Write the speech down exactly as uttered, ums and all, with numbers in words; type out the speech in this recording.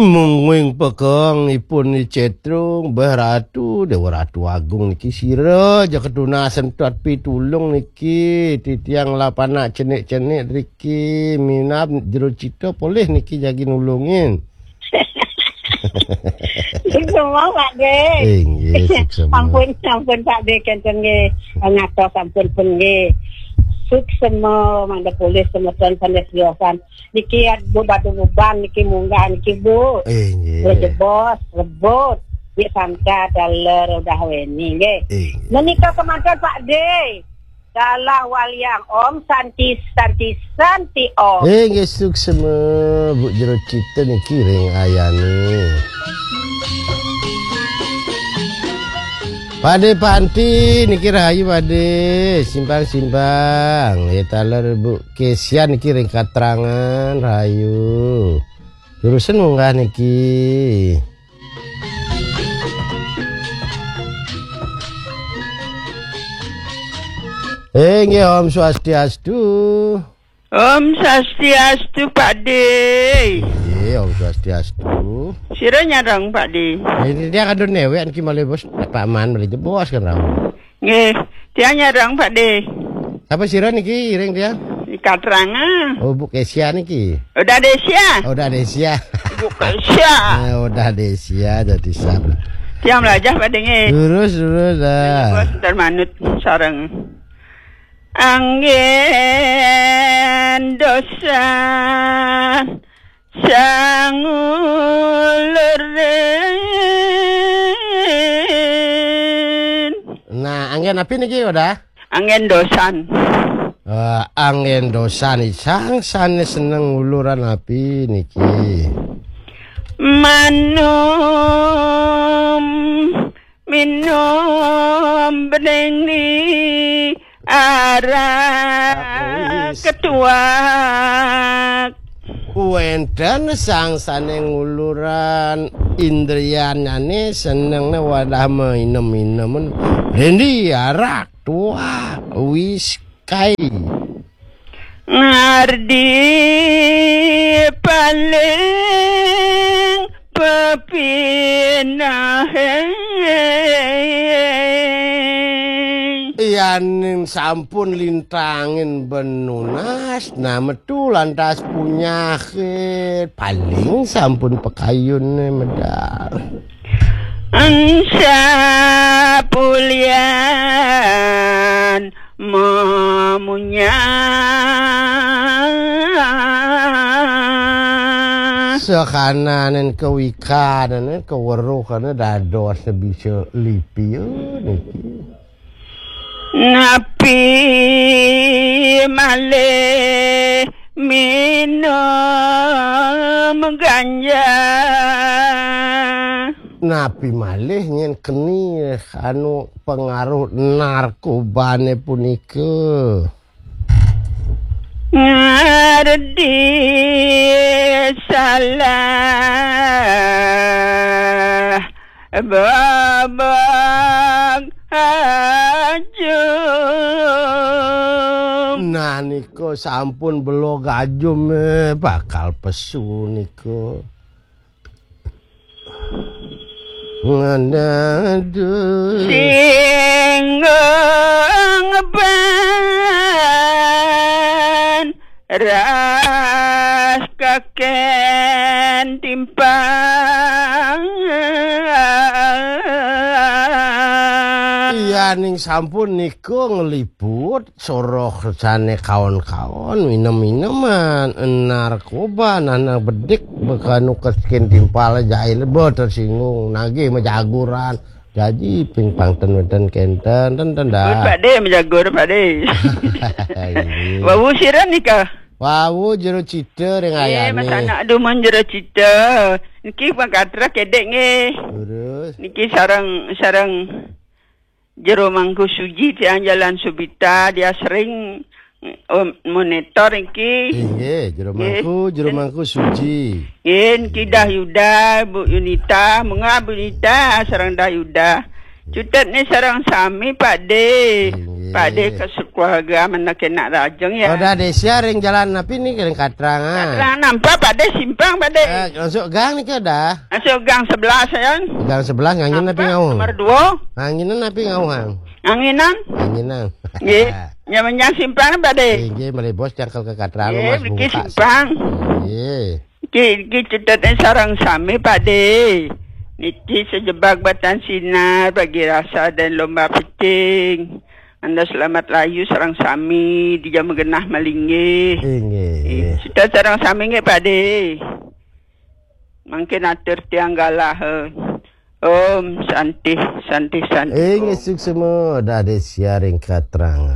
Mungguing pekeng ipun ni cetrung, beh ratu, Dewa Ratu Agung niki sira ja ketunasan tuat pitulung niki, titiang lah panak cenik-cenik riki, minab jero cita polih niki jagi nulungin. Suksema, Pak De. Inggih, suksema. Ampun, ampun, Pak De, kenten nggih. Ngatos ampun pun nggih. Suksema, mangda polih semeton sane tiosan. Niki Bu Badu Buban niki munggah niki, Bu. Inggih. Rejebos, rebut. Nggih, santa taler udah weni nggih. Inggih. Menika kemanten, Pak De. Dalah waliang Om Santi, Santi, Santi Om. Eh, nggih, suksema, Bu, jero cita niki ring ayane. Pade Panti niki rahayu, Pade. Simpang-simpang. Ya, taler Bu Kesian niki ring Katrangan rahayu. Terusen munggah niki. Eh, nggih, Om Swastiastu. Om Swastiastu, Pak De. Nggih, Om Swastiastu. Sira nyareng, Pak De? Ini dia kadun newek niki malih bos, Pak Man malih jebos kan rawuh. Nggih, tiang nyareng, Pak De. Sapa sira niki iring tiang? Di Katranga. Oh, Bu Kesia niki. Udah Desia. Oh, udah Desia. Bu Kesia. Eh, udah Desia jadi sab. Tiang melajah, Pak De, nggih. Lurus, lurus dah. Bos, ntar manut sareng. Anggen dosan sangulurin. Nah, anggen napi niki, Odah? Anggen dosan. Eh, anggen dosan, sang sane seneng nguluran napi niki? Manum minum bening ni arak. Wis. Ketuak. Wenten sang sane nguluran indrianane senengne wadah mainem-inemen. Rendi arak tuak, whisky. Ngardi paling pepinahe. Yaning sampun lintangin benunas, nah metu lantas punyahe, paling sampun pakayune medal. Ensa pulian mamunya. Sakananen kawikanen, kaweruhane dados bisa lipi, eh, niki. Napi malih minum ganja? Napi malih nyen keni anu pengaruh narkobane punika? Ngardi salah babak ajum. Nah, nika sampun belog ajum, eh, bakal pesu nika. Ngandadu. Singgung ban ras kaken timpal. Iya, ning sampun nika ngliput soroh sane kaon-kaon, minem-mineman, narkoba, nanang bedik, bekanu keskin timpal jail, bo tersinggung, nagih majaguran. Jaji ping pangten wenten kenten, ten, ten dah. Pak De, majagur, Pak De. Iya. Wau sira nika. Wau jero cita ring ayane. Mas anak dumun jero cita. Niki pangkatra kedek nggih. Terus. Niki sareng, sareng Jero Mangku Suji tiang Jalan Subita, dia sering, em, monitor niki. Inggih, Jero Mangku, Jero Mangku Suji. Nggih, niki Dah Yuda, Bu Yunita, menga Bu Yunita sareng Dah Yuda. Cutet ni sareng sami, Pak De. Inggih. Pak De ke Paga mana kena rajeng ya. Oh, dah deh, sia ring jalan napi ni, ring Katrang, ah? Katrang nampak, Pak Dé, simpang, Pak Dé. Eh, masuk gang ni ke dah? Masuk gang sebelas, ya. Gang sebelas, nganggin napi ngauh? Nomor dua. Nganginan napi ngauh, Hang? Nganginan. Nganginan. Nggih. Nyaman yang simpang, Pak Dé. Nggih, malih bos jangkal ke Katrang, nggih, Mas mriki bungkas. Simpang. Nggih. Niki, niki cedhak sareng sami, Pak Dé. Niki sejebak batan sinar, bagi rasa dan lomba pecing. Anda selamat layu sareng sami, di jam genah malinggih. Inggih. Cedhak sareng sami nggih, Pak Dé. Mangkin atur tiang galah, eh. Om Santi, Santi, Santi. Inggih, Om. Suksma, dah deh, sia ring Katrang.